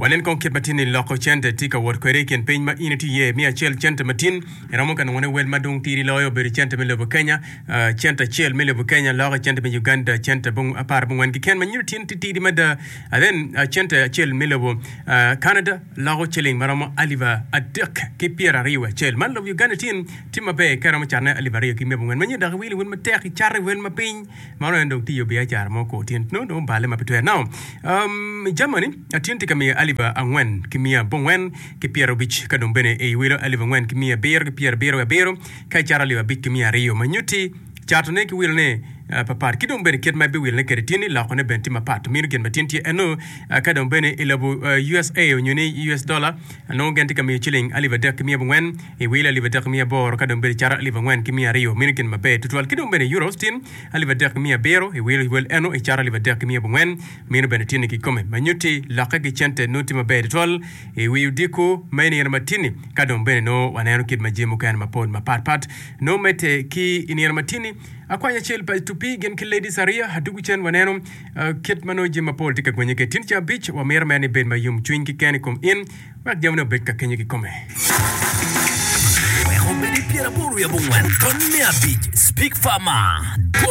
Wanen kong kit ma tin-ni loko cente tye ka wot kwede i kin piny ma in itye iye. Mi acel cente matin iromo ka nongone wel ma dong tidi loyo obedo cente me lobo Kenya. Cente acel me lobo Kenya loko i cente me Uganda cente apar abongwen keken ma nyuto tin titidi mada. Then cente acel me lobo Canada loko ciling ma romo alip adek ki pyeraryo wiye acel. Man lobo Uganda tin tye maber ka iromo catone alip aryo ki miya abongwen ma nyuto dok iwilo wel matek icato i wel ma piny. Mano en dong tiyo biacara mo kor tyen nongo dong obale ma pe twere. Now, um, Germany atyen tye ka miyo alip angwen ki miya abongwen ki pyerabic ka dong bene i wilo alip angwen ki miya abiro ki pyerabiro wiye abiro ka icato alip abic ki miya aryo ma nyutti catone ki wilone uh, papat ki dong bene kit ma ibiwilone kwede tyen ni lokone bene tye mapat mino gin ma tyen tye eno uh, ka dong bene i lobo uh, USA onyo ni US dollar nongo gin tye ka miyo ciling alip adek ki miya abongwen I wil alip 3,800 ka dong bedo caro alip 4,200, meno gin maber tutwal. Ki dong bene euros tin alip 3,700, i wil wel eno i caro alip 3,400, meno bene tye ni kikome. Ma nyutti lokke ki cente nongo tye maber tutwal i wi odiko me nino matini. Ka dong bene nongo waneno kit ma jami mukene mapol mapat pat nongo medde ki i nino matini. Akwany acel pa tupi gin ki ladies ariya adugu cen waneno kit ma nongo jami mapol tye ka gwenye kwede. Tin ceng abic wamito mere ni ibed ma yom cwiny keken i kom in. Wek jamine obed ka kenyo kikome. Wek obed i pyeraboro wiye abongwen ton me abic Speak Farmer.